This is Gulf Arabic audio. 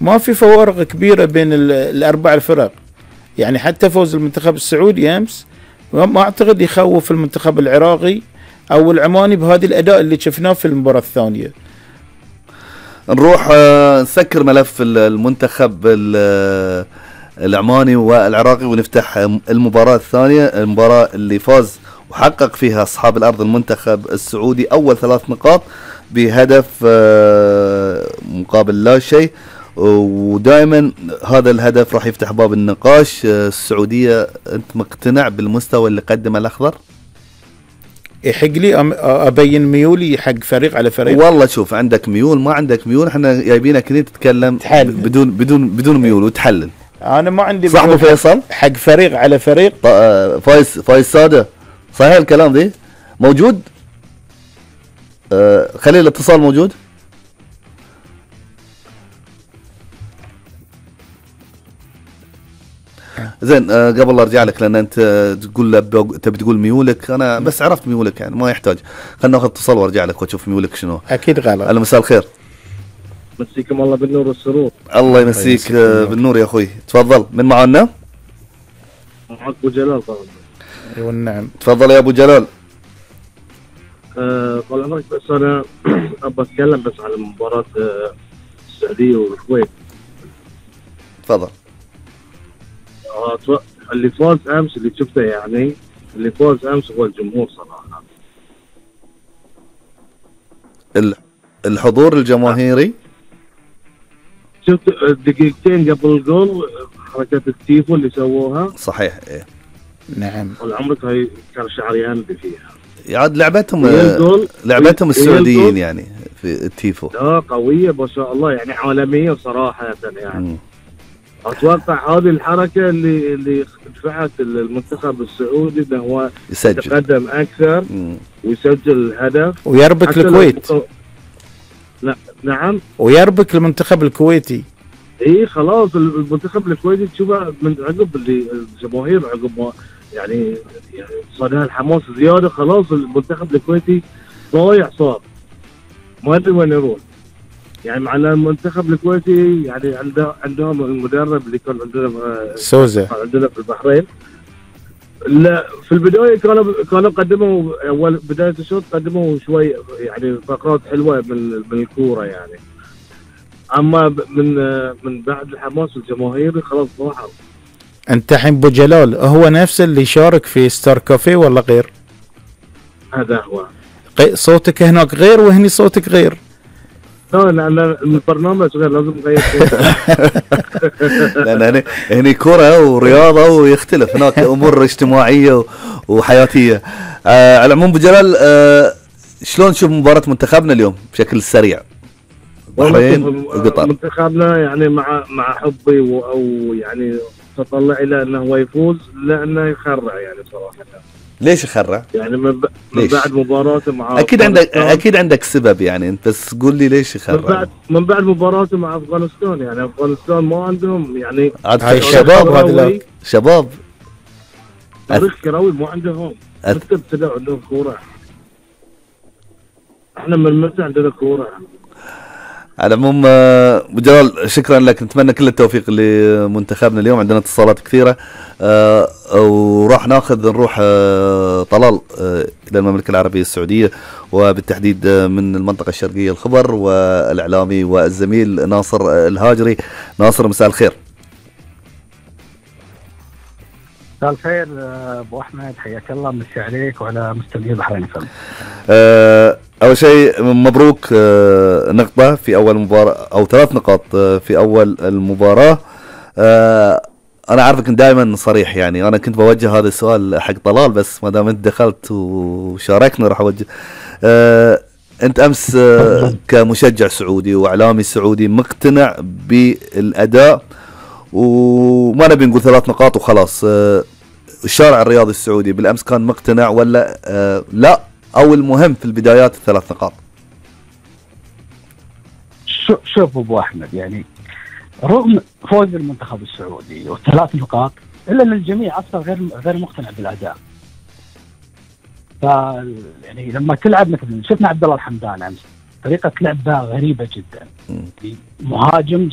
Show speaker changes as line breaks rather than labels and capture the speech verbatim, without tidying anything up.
ما في فوارق كبيرة بين الأربع الفرق، يعني حتى فوز المنتخب السعودي أمس ما أعتقد يخوف المنتخب العراقي أو العماني بهذه الأداء اللي شفناه في المباراة الثانية.
نروح نسكر ملف المنتخب العماني والعراقي ونفتح المباراة الثانية، المباراة اللي فاز وحقق فيها أصحاب الأرض المنتخب السعودي أول ثلاث نقاط بهدف مقابل لا شيء، ودائما هذا الهدف راح يفتح باب النقاش. السعودية أنت مقتنع بالمستوى اللي قدمه الأخضر؟
يحق لي أبين ميولي حق فريق على فريق؟
والله شوف، عندك ميول ما عندك ميول، احنا جايبينك هنا تتكلم بدون بدون بدون ميول وتحلل.
أنا ما عندي
صح ابو فيصل؟
حق فريق على فريق.
فايز فايز سادة، صحيح الكلام ذي؟ موجود؟ آه خلي الاتصال موجود. زين، آه قبل لا ارجع لك لان انت تقول تبي تقول ميولك، انا بس عرفت ميولك يعني ما يحتاج. خلنا ناخذ اتصال وارجع لك واشوف ميولك شنو.
اكيد غلط.
اهلا مساء الخير.
مسيكم الله بالنور والسرور.
الله يمسيك آه بالنور يا اخوي، تفضل. من معنا؟
معك ابو جلال طبعا.
ايوه نعم.
تفضل يا ابو جلال.
أه طال عمرك، بس انا ابى اتكلم بس على مباراة السعودية والكويت.
تفضل.
أه اللي فاز امس، اللي شفته يعني اللي فاز امس هو الجمهور صراحة.
الحضور الجماهيري.
شفت دقيقتين قبل الجول حركة التيفو اللي سووها؟
صحيح ايه.
نعم.
طال عمرك هاي كان شعر يندي فيها.
يعاد لعبتهم لعبتهم السعوديين يعني في التيفو.
لا قوية ما شاء الله يعني، عالمية صراحة يعني. م. اتوقع هذه الحركة اللي اللي دفعت المنتخب السعودي انه هو يتقدم اكثر م. ويسجل الهدف
ويربك الكويت.
لا نعم.
ويربك المنتخب الكويتي.
اي خلاص المنتخب الكويتي تشوفه من عقب اللي الجماهير عقب ما يعني يعني صار الحماس زياده، خلاص المنتخب الكويتي ضايع صار، ما ادري وين يروح. يعني مع المنتخب الكويتي يعني عنده عندهم المدرب اللي كان عندنا
سوزا
عندنا في البحرين. لا في البدايه كانوا كانوا قدموا اول بدايه الشوط قدموا شوي يعني فقرات حلوه من من الكوره يعني، اما من من بعد الحماس الجماهيري خلاص ضاعوا.
انت الحين ابو جلال هو نفسه اللي شارك في ستار كافيه ولا غير؟
هذا هو.
صوتك هناك غير وهني صوتك غير.
لا لان البرنامج غير لازم نغير.
لان هني هني كرة ورياضة ويختلف، هناك امور اجتماعية وحياتية. آه على العموم ابو جلال، آه شلون تشوف مباراة منتخبنا اليوم بشكل سريع؟
البحرين وقطر. منتخبنا يعني مع مع حبي او يعني تطلع الى انه هو يفوز، لانه يخرع يعني صراحه.
ليش يخرع؟
يعني من, ب... من بعد مباراته مع
اكيد عندك اكيد عندك سبب يعني، انت بس قول لي ليش يخرع.
من بعد من بعد مباراته مع افغانستان، يعني افغانستان ما عندهم يعني
هاي الشباب، هذول شباب
تاريخ كروي ما عندهم. متى ابتدوا عندهم كوره؟ احنا من متى عندنا كوره؟
على العموم ابو جلال شكرا لك، نتمنى كل التوفيق لمنتخبنا اليوم. عندنا اتصالات كثيره أه وراح ناخذ نروح أه طلال أه الى المملكه العربيه السعوديه، وبالتحديد من المنطقه الشرقيه الخبر، والاعلامي والزميل ناصر الهاجري. ناصر مساء الخير.
مساء الخير ابو احمد، حياك الله، مسي عليك وعلى مستمعي البحرين فم.
أه اول شيء مبروك أه نقطه في اول مباراه او ثلاث نقاط أه في اول المباراه. أه انا عارفك دائما صريح، يعني انا كنت بوجه هذا السؤال حق طلال، بس ما دام انت دخلت وشاركنا راح اوجه. أه انت امس أه كمشجع سعودي واعلامي سعودي مقتنع بالاداء، وما نبي نقول ثلاث نقاط وخلاص. أه الشارع الرياضي السعودي بالامس كان مقتنع ولا أه لا، او المهم في البدايات الثلاث نقاط؟
شوف ابو احمد، يعني رغم فوز المنتخب السعودي والثلاث نقاط الا ان الجميع اصلا غير غير مقتنع بالاداء. ف يعني لما تلعب مثلا شفنا عبد الله الحمدان امس طريقه لعبه غريبه جدا.
مم.
مهاجم